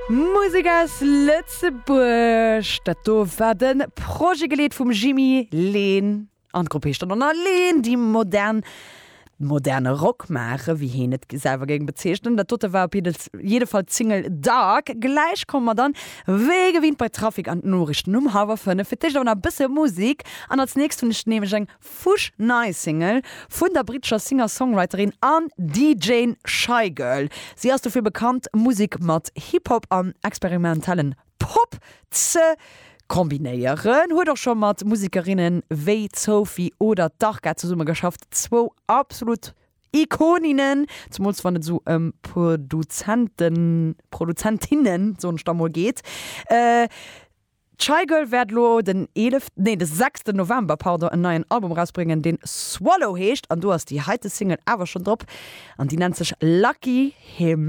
Musek aus Lëtzebuerg, dat do war de Projet geleet vum Jimmy Leen an d'Grupp heescht dann och nach Leen, déi modern moderne Rock maachen, wéi heen et selwer géing bezeechnen. Dat dote war op jidde Fall d'Single Dark. Gläich komme mer dann wéi gewinnt bei Trafic an d'Noriichten um hallwer 5. Fir d'éischt awer nach e bësse Musek an als nächst hunn ech nämlech eng fuschnei Single vun der brittescher Singer-Songwriterin an DJane Shygirl. Si ass dofir bekannt, Musek mat Hip-Hop an experimentellen Pop ze kombinéieren. Huet och scho mat Musekerinne wéi d'Sophie oder d'Arca zesummegeschafft, zwou absolut Ikoninnen, zemools wann et esou ëm Produzenten, Produzentinnen, soen ech da mol, geet. D'Shygirl wäert elo den 11, nee de 6 November, pardon, en neien Album erausbréngen, deen Swallow heescht an do ass déi heite Single awer schonn drop an déi nennt sech Lucky Him.